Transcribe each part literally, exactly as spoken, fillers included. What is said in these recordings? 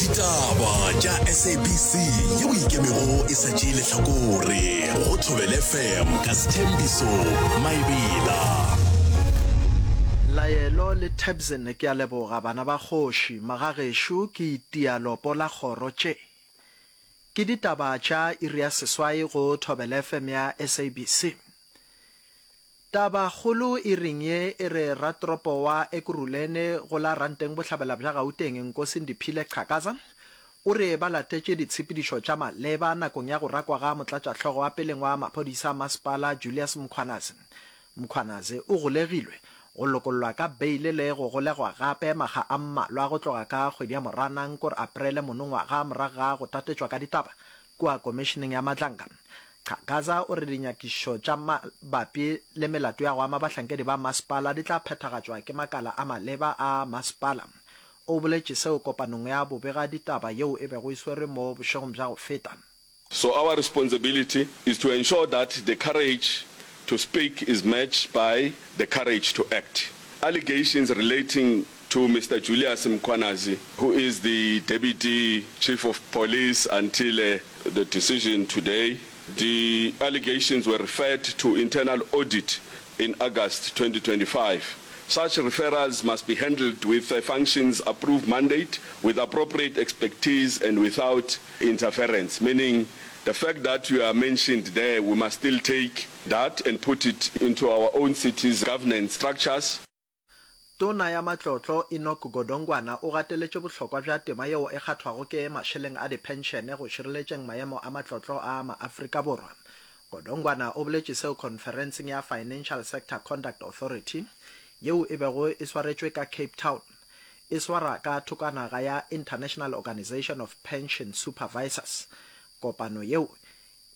Ditaba tša S A B C yeo ikemego e sa tšee lehlakore go Thobela F M ka Sethembiso Maebela. Laelo le Tebsen ke a leboga bana ba kgoši magagešo ke itia lopo la kgoro tše ke ditaba tša iri ya seswai go Thobela F M ya S A B C. Tabakgolo iring ye e re ratoropo wa Ekurhuleni go la Ranteng Bohlabela bja Gauteng Nkosi Ndiphile Xhakaza o re ba latetše ditshepedišo tša maleba nakong ya go rakwa ga motlatšahlogo wa peleng wa maphodisa a masepala Julius Mkhwanazi. Mkhwanazi o golegilwe, go lokollwa ka beile le go golegwa gape makga a mmalwa go tloga ka kgwedi ya Moranang kore Aprele monongwaga morago ga go tatetšwa ka ditaba kua komišeneng ya Madlanga. Xhakaza o re dinyakišišo tša mabapi le melato ya go ama bahlankedi ba masepala di tla phethagatšwa ke makala a maleba a masepala. O boletše seo kopanong ya bobega ditaba yeo e bego e swerwe mo bošegong bja go feta. So our responsibility is to ensure that the courage to speak is matched by the courage to act. Allegations relating to Mister Julius Mkhwanazi, who is the Deputy Chief of Police until uh, the decision today, the allegations were referred to internal audit in August twenty twenty-five. Such referrals must be handled with a functions approved mandate, with appropriate expertise and without interference, meaning the fact that you are mentioned there, we must still take that and put it into our own city's governance structures. Tona ya Matlotlo Enoch Godongwana o gateletše bohlokwa bja tema yeo e kgathwago ke mašeleng a diphenšene go šireletšeng maemo a matlotlo a maAfrika Borwa. Godongwana o boletše seo khonferenseng ya Financial Sector Conduct Authority yeo e bego e swaretšwe ka Cape Town e swara ka thokanaga ya International Organisation of Pension Supervisors. Kopano yeo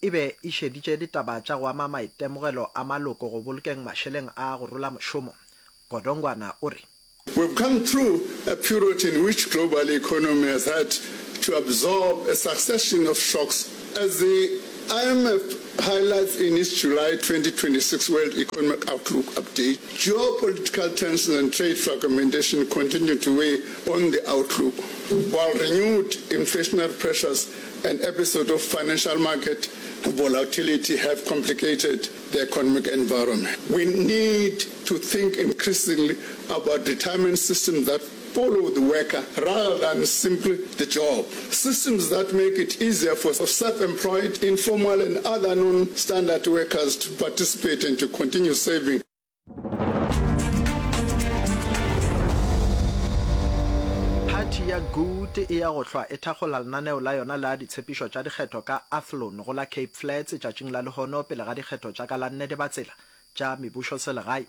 e be e šeditše ditaba tša go ama maitemogelo a maloko go bolokeng mašeleng a go rola mošomo. Godongwana o re. We've come through a period in which global economy has had to absorb a succession of shocks. As the I M F highlights in its July twenty twenty-six World Economic Outlook update, geopolitical tensions and trade fragmentation continue to weigh on the outlook, while renewed inflationary pressures and episodes of financial market volatility have complicated the economic environment. We need to think increasingly about retirement systems that follow the worker rather than simply the job. Systems that make it easier for self-employed, informal and other non-standard workers to participate and to continue saving. Phathi ya Good e ya go hlwa e thakgola lenaneo la yona la ditshepišo tša dikgetho ka Athlone go la Cape Flats tšatšing la lehono pele ga dikgetho tša ka la nne Dibatsela tša mebušoselegae.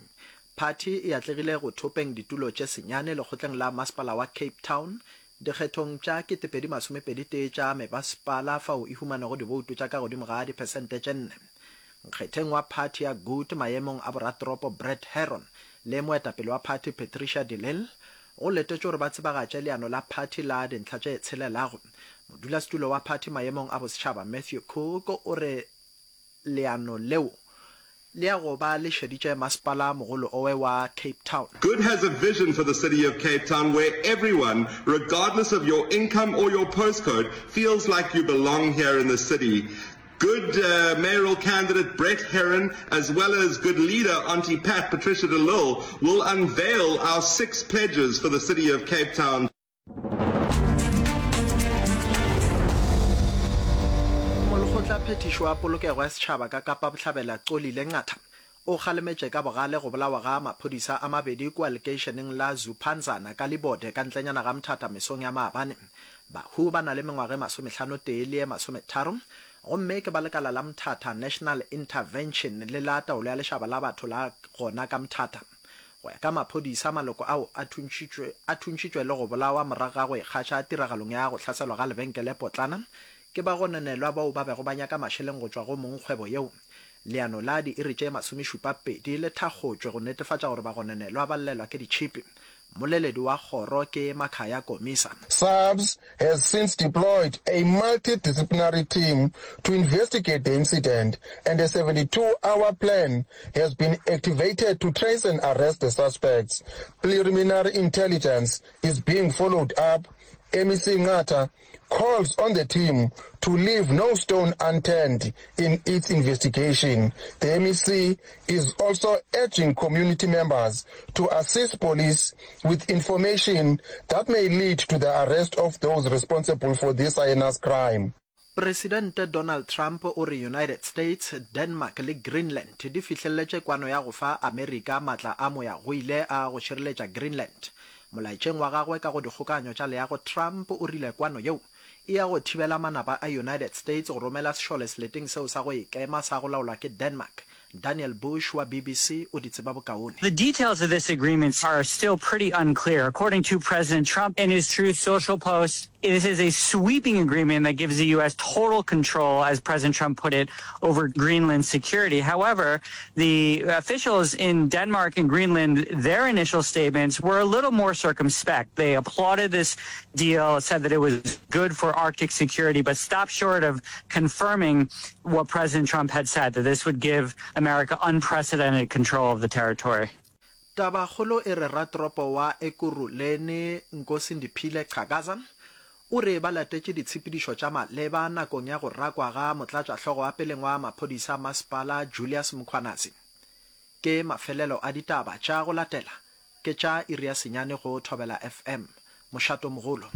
Phathi e atlegile go thopeng ditulo tše senyane lekgotleng la masepala wa Cape Town dikgethong tša ketepedi masomepedi tee tša mebasepala fao e humanego diboutu tša ka godimo ga diphesente tše nne. Nkgetheng wa phathi ya Good maemong a boratoropo Brett Herron le moetapele wa phathi Patricia de Lille go letetšwe gore ba tsebagatše leano la phathi la dintlha tše tshelelago. Modulasetulo wa phathi maemong a bosetšhaba Matthew Cook o re leano leo le ya go ba le šeditše masepala mogolo owe wa Cape Town. Good has a vision for the city of Cape Town where everyone, regardless of your income or your postcode, feels like you belong here in the city. Good uh, mayoral candidate Brett Herron, as well as good leader Auntie Pat Patricia de Lille, will unveil our six pledges for the city of Cape Town. Molekgotla phethišo wa polokego ya setšhaba ka Kapa Bohlabela Xolile Nqatha o kgalemetše ka bogale go bolawa ga maphodisa a mabedi kua lekeišeneng la Zuphanzana ka Libode ka ntlenyana ga Mthatha mesong ya maabane. Bahu ba na le mengwaga e masomehlano tee le ye masometharo gomme ke ba lekala la Mthatha National Intervention le la taolo ya lešaba la batho la gona ka Mthatha. Go ya ka maphodisa, maloko ao a thuntšitšwe a thuntšitšwe le go bolawa morago ga go ikgaša tiragalong ya go hlaselwa ga lebenkele potlana ke bagononelwa bao ba bego ba nyaka mašeleng go tšwa go mongkgwebo yeo. Leano la diiri tše masomešupa pedi le thakgotšwe go netefatša gore bagononelwa ba llelwa ke ditšhipi. Mmoleledi wa kgoro ke Makhaya Komisa. SAPS has since deployed a multidisciplinary team to investigate the incident and a seventy-two hour plan has been activated to trace and arrest the suspects. Preliminary intelligence is being followed up. M E C Nqatha calls on the team to leave no stone unturned in its investigation. The M E C is also urging community members to assist police with information that may lead to the arrest of those responsible for this heinous crime. Presidente Donald Trump o re United States, Denmark le Greenland di fihleletše kwano ya go fa Amerika matla a moyagoile a go šireletša Greenland. Molaetšeng wa gagwe ka go dikgokaganyo tša leago, Trump o rile kwano yeo e ya go thibela manaba a United States go romela sešole seleteng seo sa go ikema sa go laolwa ke Denmark. Daniel Bush wa B B C o di tseba bokaone. The details of this agreement are still pretty unclear. According to President Trump in his Truth Social post, this is a sweeping agreement that gives the U S total control, as President Trump put it, over Greenland security. However, the officials in Denmark and Greenland, their initial statements were a little more circumspect. They applauded this deal, said that it was good for Arctic security, but stopped short of confirming what President Trump had said, that this would give America unprecedented control of the territory. Tabakgolo e re ratoropo wa Ekurhuleni Nkosindiphile Xhakaza o re ba latetše ditshepedišo tša maleba nakong ya go rakwa ga motlatšahlogo wa peleng wa maphodisa masepala Julius Mkhwanazi. Ke mafelelo a ditaba tša go latela ke tša iri ya senyane go Thobela F M. Mošato mogolo.